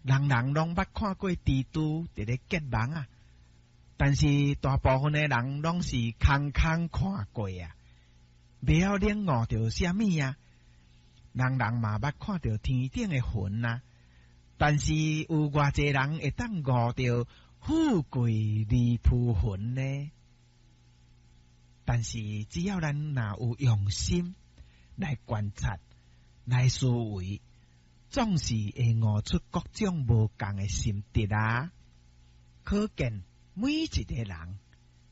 人人攏捌看過蜘蛛佇咧結網啊，但是大部分的人攏是空空看過啊，袂曉領悟著啥物啊。人人嘛捌看著天頂的雲啊，但是有偌濟人會當悟著富貴而浮雲呢？但是只要咱若有用心來觀察、來思維，總是會悟出各種無仝的心得啊！可見每一個人，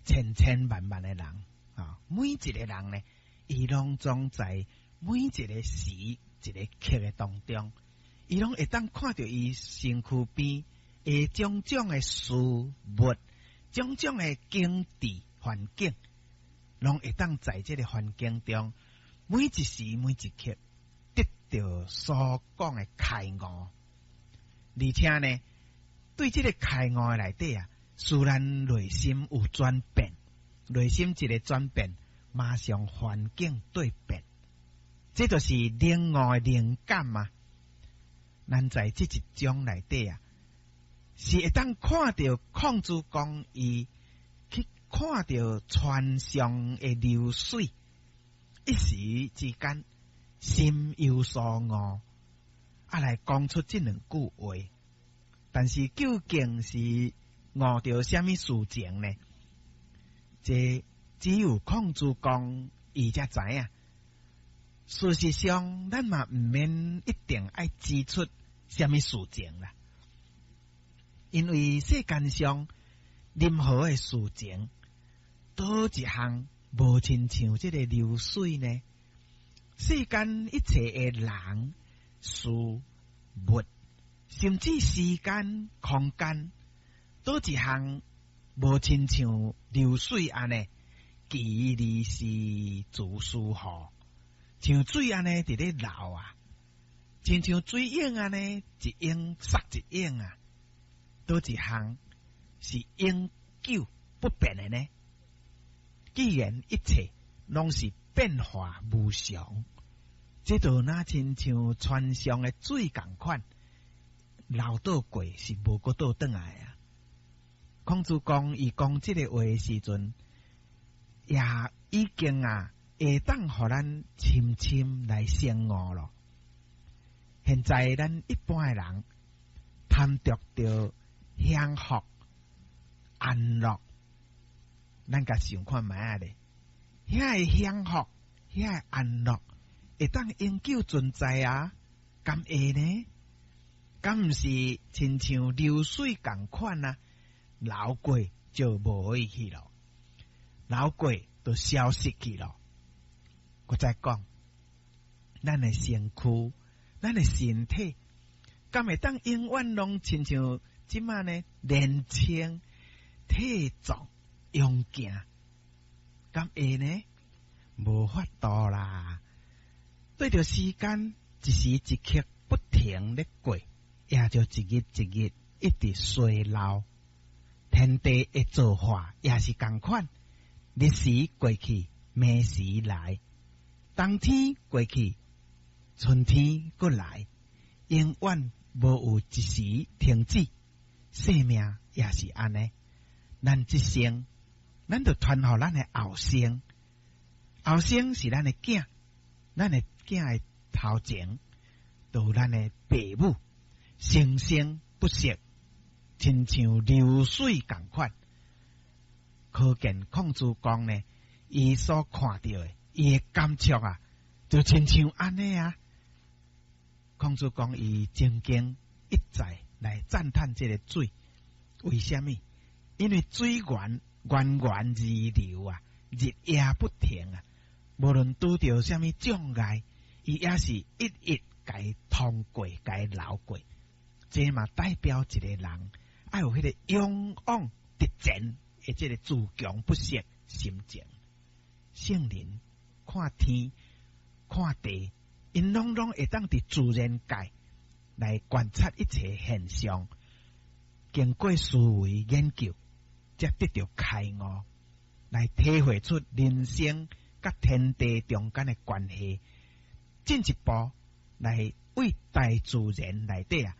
千千萬萬的人啊，每一個人呢，伊攏總在每一個時一個刻的當中，伊攏會當看著伊身軀邊的種種的事物、種種的景致環境，攏會當在這個環境中，每一時每一刻得著所講的開悟，而且呢，對這個開悟的內底啊，使咱內心有轉變，內心一個轉變，馬上環境對變，這就是領悟的靈感啊！咱在這一章內底啊，是會當看著孔子講伊去看著船上的流水，一時之間心有所悟，啊來講出這兩句話。但是究竟是悟著啥物事情呢？這只有孔子公伊才知影。事實上，咱嘛毋免一定愛指出啥物事情啦，因為世間上任何的事情，佗一項無親像這个流水呢？世間一切的人、事、物，甚至時間、空間，佗一項無親像流水按呢，其利是自舒服，像水按呢佇咧流啊，親像水湧按呢，一湧殺一湧啊，佗一項是永久不變的呢？既然一切攏是變化無常，這就若親像船上的水仝款，流倒過是無閣倒轉來啊！孔子講，伊講這个話的時陣，也已經啊，會當予咱深深來省悟咯。現在咱一般的人貪著著享福安樂，咱共想看覓仔咧？遐个享福，遐个安樂，會當永久存在啊？敢會呢？敢毋是親像流水仝款啊？流過就無去咯，流過就消失去咯。閣再講，咱的身軀，咱的身體，敢會當永遠攏親像這馬呢年輕、體壯、勇健？敢會呢？無法度啦！對著時間一時一刻不停咧過，也就一日一日一直衰老。天地的造化也是仝款，日時過去，暝時來，冬天過去，春天閣來，永遠無有一時停止。生命也是按呢，咱這生，咱就傳予咱的後生，後生是咱的囝，咱的囝的頭前，就有咱的爸母，生生不息。親像流水仝款，可見孔子公呢，伊所看著的，伊的感觸啊，就親像按呢啊。孔子公伊曾經一再來讚嘆這个水，為啥物？因為水源源源而流啊，日夜不停啊，無論拄著啥物障礙，伊也是一一共通過，共流過。這嘛代表一個人愛有彼个勇往直前的這个自強不息心情。聖人看天看地，𪜶攏攏會當佇自然界來觀察一切現象，經過思維研究，才得著開悟，來體會出人生佮天地中間的關係，進一步來為大自然內底啊。